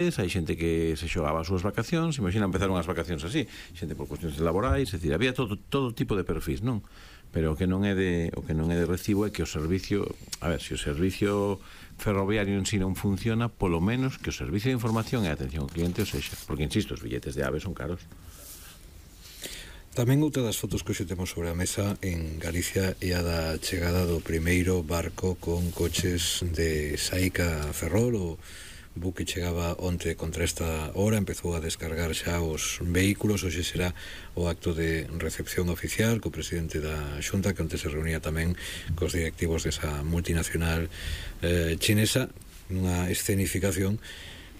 hai xente que se xogaba as súas vacacións, imagina empezar unhas vacacións así, xente por cuestións laborais, é dicir, había todo tipo de perfis, non? Pero o que non é de recibo é que o servicio, a ver, se o servicio ferroviario en si non funciona, polo menos que o servicio de información e atención ao cliente o sexa, porque insisto, os billetes de AVE son caros. Tamén outra das fotos que hoxe temos sobre a mesa en Galicia é a da chegada do primeiro barco con coches de SAIC a Ferrol. O buque chegaba onte contra esta hora, empezou a descargar xa os vehículos. Hoxe será o acto de recepción oficial co presidente da Xunta, que onte se reunía tamén cos directivos desa multinacional chinesa, nunha escenificación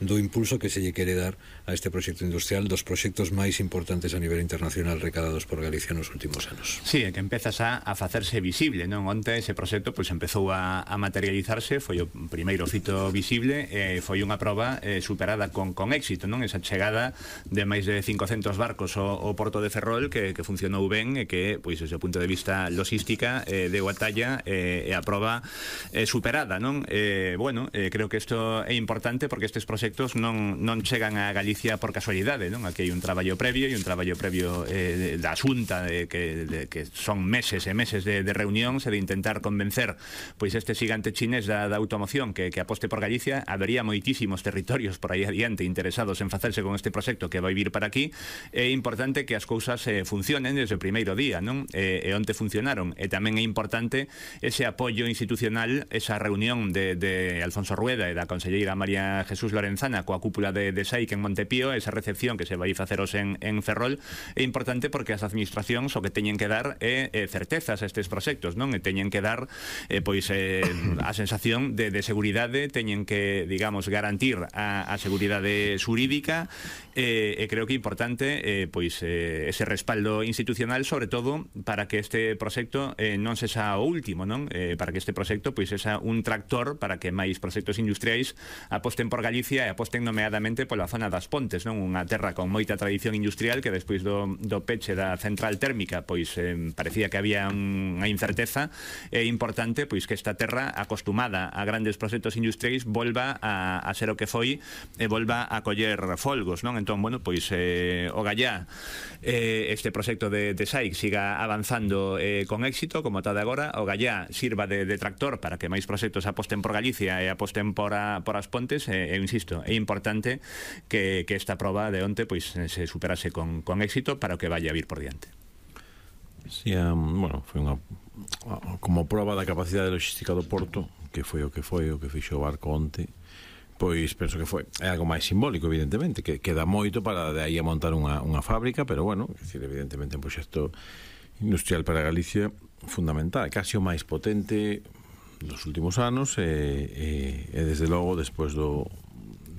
do impulso que se lle quere dar a este proxecto industrial, dos proxectos máis importantes a nivel internacional recadados por Galicia nos últimos anos. Sí, é que empezas a facerse visible, non? Onte ese proxecto pois empezou a materializarse, foi o primeiro fito visible, foi unha proba superada con éxito, non? Esa chegada de máis de 500 barcos ao porto de Ferrol que funcionou ben e que, pois, desde o punto de vista logística deu a talla e a proba superada, non? Creo que isto é importante porque estes proxectos non chegan a Galicia por casualidade, non? Aquí hai un traballo previo da Xunta que son meses e meses de reunións e de intentar convencer pois este xigante chinés da automoción que aposte por Galicia. Habería moitísimos territorios por aí adiante interesados en facerse con este proxecto que vai vir para aquí. É importante que as cousas funcionen desde o primeiro día, non? E onte funcionaron. E tamén é importante ese apoio institucional, esa reunión de Alfonso Rueda e da conselleira María Jesús Lorenzana coa cúpula de SAIC en Montepío, esa recepción que se vai faceros en Ferrol, é importante porque as administracións o que teñen que dar é certezas a estes proxectos, non? E teñen que dar a sensación de seguridade, teñen que, digamos, garantir a seguridade xurídica, e creo que é importante ese respaldo institucional, sobre todo para que este proxecto non sexa o último, non? Para que este proxecto sexa un tractor para que máis proxectos industriais aposten por Galicia e aposten nomeadamente pola zona das Pontes, non? Unha terra con moita tradición industrial que despois do peche da central térmica parecía que había unha incerteza. É importante que esta terra acostumada a grandes proxectos industriais volva a ser o que foi e volva a coller folgos, non? Entón, o Gallá este proxecto de SAIC siga avanzando con éxito como está de agora, o Gallá sirva de tractor para que máis proxectos aposten por Galicia e aposten por as Pontes. Eu insisto, é importante que esta proba de onte se superase con éxito para o que vaya a vir por diante. Sí, foi unha como proba da capacidade logística do porto, que foi o que fixo o barco onte. Pois penso que é algo máis simbólico, evidentemente, que queda moito para de aí a montar unha fábrica, pero evidentemente un proxecto industrial para Galicia fundamental, casi o máis potente dos últimos anos, e desde logo despois de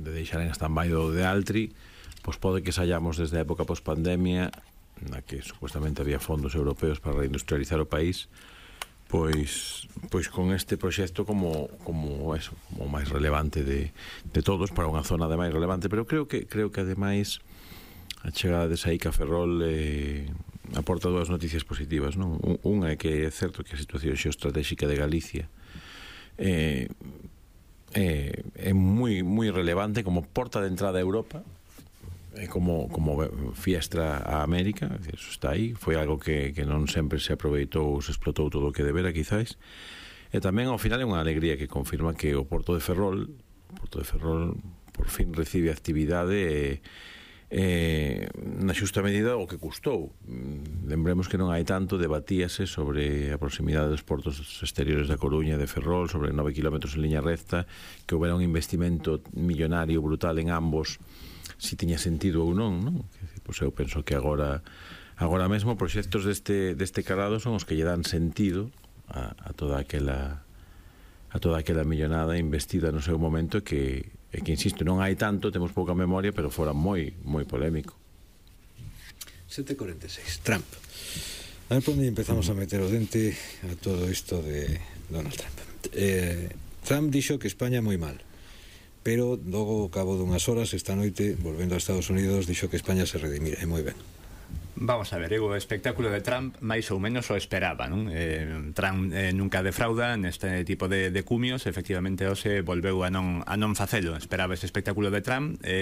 deixar en stand-by do de Altri, pois pode que saíamos desde a época post-pandemia, na que supuestamente había fondos europeos para reindustrializar o país, pois con este proxecto como o máis relevante de todos, para unha zona de máis relevante. Pero creo que ademais a chegada de SAIC a Ferrol aporta dúas noticias positivas, non? Unha é que é certo que a situación xeoestratégica de Galicia é moi relevante como porta de entrada a Europa, como fiestra a América. Eso está aí, foi algo que non sempre se aproveitou ou se explotou todo o que debera, quizás. E tamén ao final é unha alegría que confirma que o Porto de Ferrol por fin recibe actividade na xusta medida o que custou. Lembremos que non hai tanto, debatíase sobre a proximidade dos portos exteriores da Coruña e de Ferrol, sobre 9 kilómetros en liña recta, que houbera un investimento millonario brutal en ambos, si tiña sentido ou non, non? Pois eu penso que agora mesmo proxectos deste calado son os que lle dan sentido a toda aquela millonada investida no seu momento, que insisto, non hai tanto, temos pouca memoria, pero fora moi polémico. 7:46, Trump. A ver por onde empezamos a meter o dente a todo isto de Donald Trump. Trump dixo que España moi mal, pero logo, ao cabo dunhas horas, esta noite, volvendo a Estados Unidos, dixo que España se redimira, e moi ben. Vamos a ver, o espectáculo de Trump máis ou menos o esperaba, non? Trump nunca defrauda neste tipo de cumios, efectivamente hoxe volveu a non facelo. Esperaba ese espectáculo de Trump,